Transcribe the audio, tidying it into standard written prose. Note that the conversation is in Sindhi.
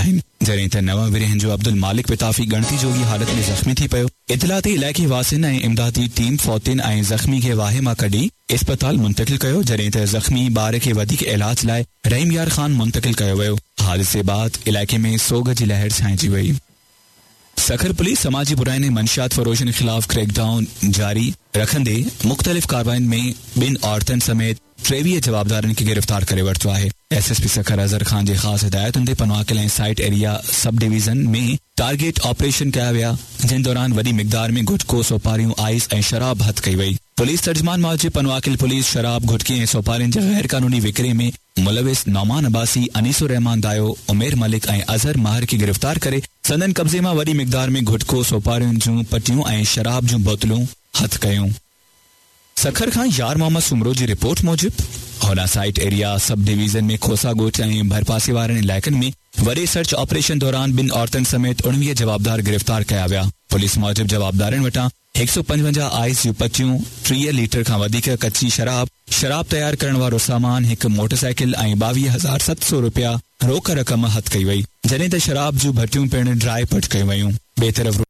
آهن، جڏهن ته نو ورهين جو عبدالمالڪ پتافي ڳڻتي جوڳي حالت ۾ زخمي ٿي پيو. اطلاع تي علائقي واسين ۽ امدادي ٽيم فوتين ۽ زخمي کي واهي مان ڪڍي اسپتال منتقل ڪيو، جڏهن ته زخمي ٻار کي وڌيڪ علاج لاء رحيم يار خان منتقل ڪيو ويو. حادثي بعد علائقي ۾ سوڳ جي لهر ڇانئجي وئي. سکر پوليس سماجي براين ۽ منشيات فروشن خلاف ڪريڪ ڊائون جاري رکندي مختلف ڪاررواين ۾ ٻن عورتن سميت 23 جوابدارن کي گرفتار ڪري ورتو آهي. S S P Sukkur Azhar Khan جي خاص هدايتن تي Pano Aqil ۽ site area sub division ۾ target operation ڪيا ويا جنهن دوران وڏي مقدار ۾ گٽڪو، سوپاريون، آئيس ۽ شراب هٿ ڪئي وئي. پوليس ترجمان موجب پنوعاقل پوليس شراب، گٽڪي ۽ سوپارين جي غيرقانوني وڪري ۾ ملوث نعمان عباسي، انيس الرحمان دايو، عمير ملڪ ۽ اظهر ماهر کي گرفتار ڪري سندن قبضي مان وڏي مقدار ۾ گٽڪو، سوپارين جون پٽيون ۽ شراب جون بوتلون هٿ ڪيون. سکر کان يار محمد سومرو جي رپورٽ موجب هوڏانهن site area sub division ۾ Khosa ڳوٺ ۽ ڀرپاسي وارن علائقن ۾ وڏي سرچ آپريشن دوران ٻن عورتن سميت 19 جوابدار گرفتار ڪيا ويا. پوليس موجب جوابدارن وٽان 155 آئيس جون پٽيون، 30 ليٽر کان وڌيڪ ڪچي شراب، شراب تيار ڪرڻ وارو سامان، هڪ موٽرسائيڪل ۽ 22,700 رپيا روڪ رقم هٿ ڪئي وئي، جڏهن ته شراب جون ڀٽيون پڻ ڊاهي پٽ ڪيون ويون. ٻئي طرف.